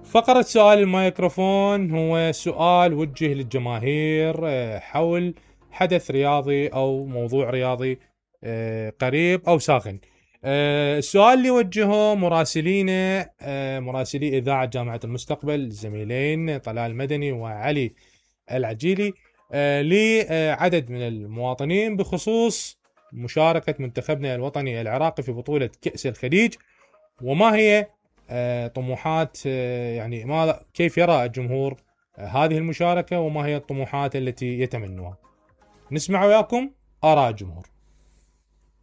فقرة سؤال الميكروفون هو سؤال وجه للجماهير حول حدث رياضي أو موضوع رياضي قريب أو ساخن. السؤال اللي وجهه مراسلينا مراسلي إذاعة جامعة المستقبل الزميلين طلال المدني وعلي العجيلي لعدد من المواطنين بخصوص مشاركة منتخبنا الوطني العراقي في بطولة كأس الخليج، وما هي طموحات يعني كيف يرى الجمهور هذه المشاركة، وما هي الطموحات التي يتمنوها. نسمع وياكم آراء الجمهور.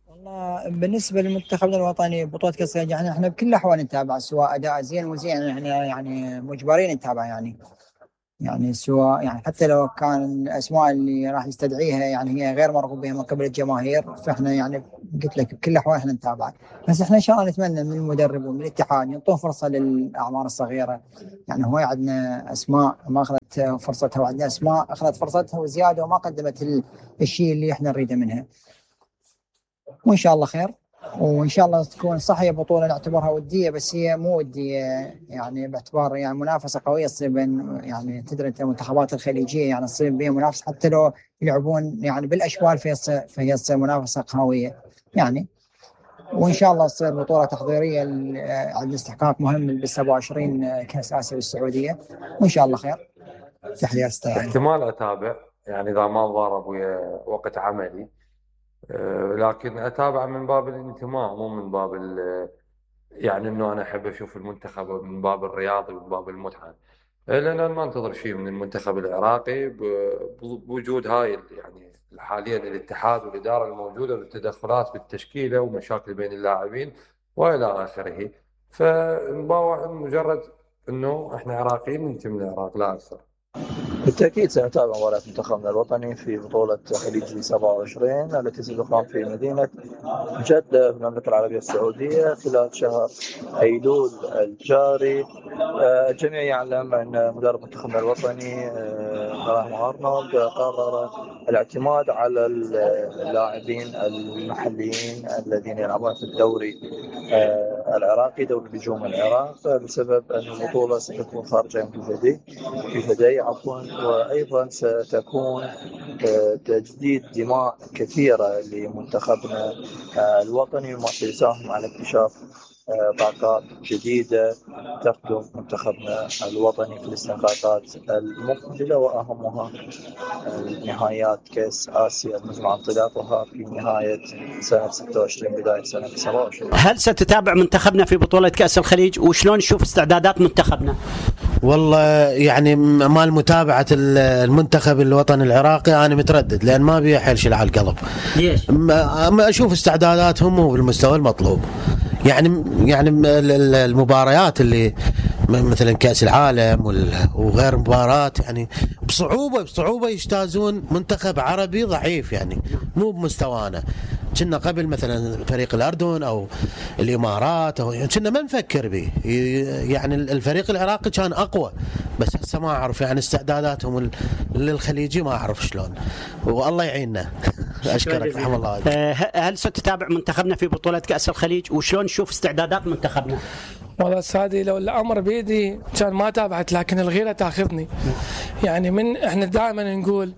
والله بالنسبة لمنتخبنا الوطني بطولة كأس الخليج يعني احنا بكل الأحوال نتابع، سواء أداء زين وزين احنا يعني مجبرين نتابع يعني سواء يعني حتى لو كان الأسماء اللي راح يستدعيها يعني هي غير مرغوب بها من قبل الجماهير، فاحنا يعني قلت لك بكل الأحوال احنا نتابع. بس احنا إن شاء الله نتمنى من المدرب ومن الاتحاد يعطون فرصة للأعمار الصغيرة. يعني هو عندنا أسماء ما أخذت فرصتها، وعندنا أسماء أخذت فرصتها وزيادة وما قدمت الشيء اللي احنا نريده منها. وإن شاء الله خير، وإن شاء الله تكون صحيح بطولة نعتبرها ودية، بس هي مو ودية يعني باعتبار يعني منافسة قوية تصير بين يعني تدري أنت المنتخبات الخليجية يعني تصير بين منافسة، حتى لو يلعبون يعني بالأشبال فهي تصير منافسة قوية يعني. وإن شاء الله تصير بطولة تحضيرية عند استحقاق مهم بال 27 كأس آسيا بالسعودية، وإن شاء الله خير. تحية استاذ. احتمال أتابع يعني إذا ما ضارب ويا وقت عملي، لكن أتابع من باب الانتماء مو من باب يعني إنه أنا أحب أشوف المنتخب من باب الرياضي ومن باب المتعة، لأن أنا ما أنتظر شيء من المنتخب العراقي بوجود هاي يعني حاليا الاتحاد والإدارة الموجودة والتدخلات بالتشكيلة ومشاكل بين اللاعبين وإلى آخره. فمجرد إنه إحنا عراقيين ننتمي للعراق لا أكثر. بالتأكيد سنتابع مباراة منتخبنا الوطني في بطولة خليج 27 التي ستقام في مدينة جدة في المملكة العربية السعودية خلال شهر أيلول الجاري. الجميع يعلم أن مدرب منتخبنا الوطني راهم أرنولد قرر الاعتماد على اللاعبين المحليين الذين يلعبون في الدوري العراقي دوري نجوم العراق، بسبب أن البطولة ستكون خارجة من لدي وأيضا ستكون تجديد دماء كثيرة لمنتخبنا الوطني، وما سيساهم على اكتشاف طاقات جديدة تخدم منتخبنا الوطني في الاستحقاقات المقبلة، وأهمها نهايات كأس آسيا المزمع عن انطلاقها في نهاية سنة 26 بداية سنة 27. هل ستتابع منتخبنا في بطولة كأس الخليج، وشلون نشوف استعدادات منتخبنا؟ والله يعني مال متابعة المنتخب الوطني العراقي أنا متردد، لأن ما بيه حيل على القلب. ليش؟ ما أشوف استعداداتهم وبالمستوى المطلوب. يعني المباريات اللي مثلا كأس العالم وغير مباريات يعني بصعوبة يجتازون منتخب عربي ضعيف، يعني مو بمستوانا. كنا قبل مثلا فريق الأردن أو الإمارات أو كنا ما نفكر به، يعني الفريق العراقي كان أقوى، بس هسه ما أعرف يعني استعداداتهم للخليجي ما أعرف شلون، والله يعيننا. أشكرك رحمه الله. هل ستتابع منتخبنا في بطولة كأس الخليج، وشلون نشوف استعدادات منتخبنا؟ والله سادي لو الأمر بيدي كان ما تابعت، لكن الغيرة تاخذني. يعني من احنا دائما نقول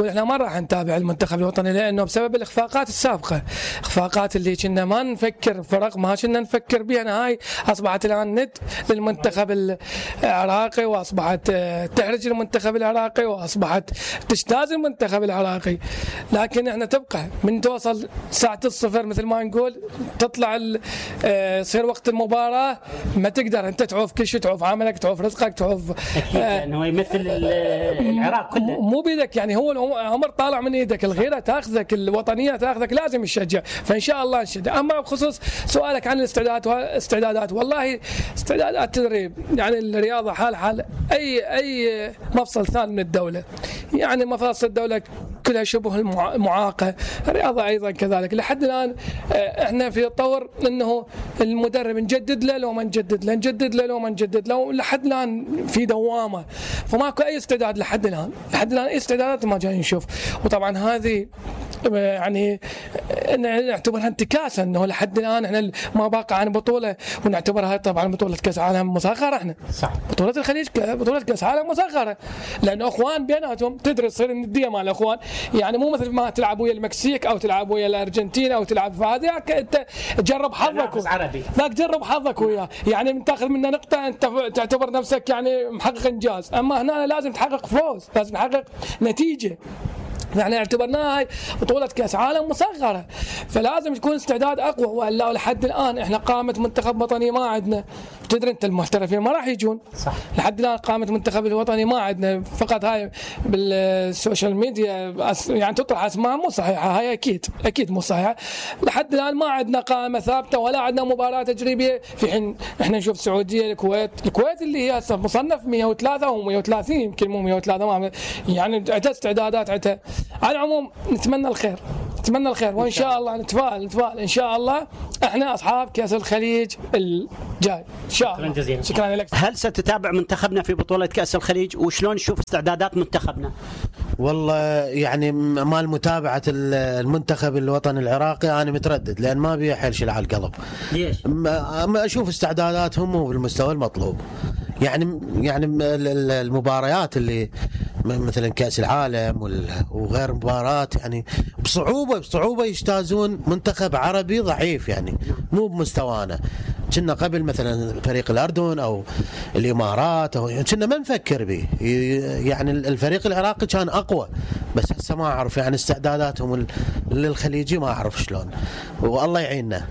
احنا ما راح نتابع المنتخب الوطني، لانه بسبب الاخفاقات السابقه، اخفاقات اللي كنا ما نفكر فرق ما كنا نفكر بها، هاي اصبحت الان ند للمنتخب العراقي، واصبحت تحرج المنتخب العراقي، واصبحت تجتاز المنتخب العراقي. لكن احنا تبقى من توصل ساعه الصفر مثل ما نقول تطلع يصير وقت المباراه ما تقدر انت تعوف كل شيء، تعوف عملك، تعوف رزقك، تعوف اكيد لانه يمثل العراق كله. مو بيدك، يعني هو الامر طالع من ايدك، الغيره تاخذك، الوطنيه تاخذك، لازم نشجع. فان شاء الله نشجع. اما بخصوص سؤالك عن الاستعدادات والله استعدادات تدريب، يعني الرياضه حال اي مفصل ثاني من الدوله، يعني مفاصل الدوله كلها شبه معاقه، الرياضه ايضا كذلك. لحد الان احنا في طور انه المدرب نجدد له لو ما نجدد له، نجدد له لو ما نجدد له، لحد الان في دوامه، فماكو اي استعداد لحد الان اي استعدادات ما جاي نشوف. وطبعا هذه يعني نعتبرها انتكاسه، انه لحد الان احنا ما باقى عن بطوله ونعتبرها طبعا بطوله كاس عالم مصغره. احنا صح. بطوله الخليج بطوله كاس عالم مصغره، لانه اخوان بيناتهم تدري تصير النديه مع الاخوان، يعني مو مثل ما تلعب ويا المكسيك او تلعب ويا الارجنتين او تلعب في هذه انت تجرب حظك عربي ذاك جرب حظك وياه، يعني تاخذ منه نقطه انت تعتبر نفسك يعني محقق انجاز، اما هنا لازم تحقق فوز، لازم تحقق نتيجه. يعني اعتبرناها هاي بطولة كأس عالم مصغرة، فلازم تكون استعداد أقوى، وإلا لحد الآن إحنا قامة منتخب وطني ما عندنا. تدري أنت المحترفين ما راح يجون. صح. لحد الآن قامة منتخب الوطني ما عندنا، فقط هاي بالسوشيال ميديا يعني تطرح أسماء مو صحيحة، هاي أكيد مو صحيحة. لحد الآن ما عندنا قائمة ثابتة ولا عندنا مباراة تجريبية، في حين إحنا نشوف السعودية الكويت اللي هي مصنف 103 و130 يمكن مو 103 يعني عندها استعدادات عندها. على العموم نتمنى الخير وان شاء الله نتفائل ان شاء الله احنا اصحاب كاس الخليج الجاي ان شاء الله. شكرا جزيلا. شكرا لك. هل ستتابع منتخبنا في بطولة كأس الخليج وشلون تشوف استعدادات منتخبنا؟ والله يعني مال متابعة المنتخب الوطني العراقي أنا متردد، لأن ما بي حيل على القلب. ليش؟ ما أشوف استعداداتهم مو بالمستوى المطلوب. يعني المباريات اللي مثلا كأس العالم وغير مباراة يعني بصعوبة يجتازون منتخب عربي ضعيف، يعني مو بمستوانا. كنا قبل مثلا فريق الأردن أو الإمارات أو كنا ما نفكر به، يعني الفريق العراقي كان أقوى، بس هسه ما أعرف يعني استعداداتهم للخليجي ما أعرف شلون، والله يعيننا.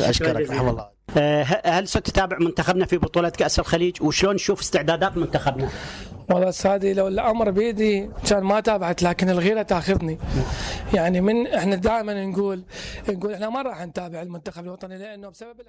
أشكرك رحمه الله. هل ستتابع منتخبنا في بطولة كأس الخليج وشلون تشوف استعدادات منتخبنا؟ والله سادي لو الامر بيدي كان ما تابعت، لكن الغيره تاخذني. يعني احنا دائما نقول احنا ما راح نتابع المنتخب الوطني لانه بسبب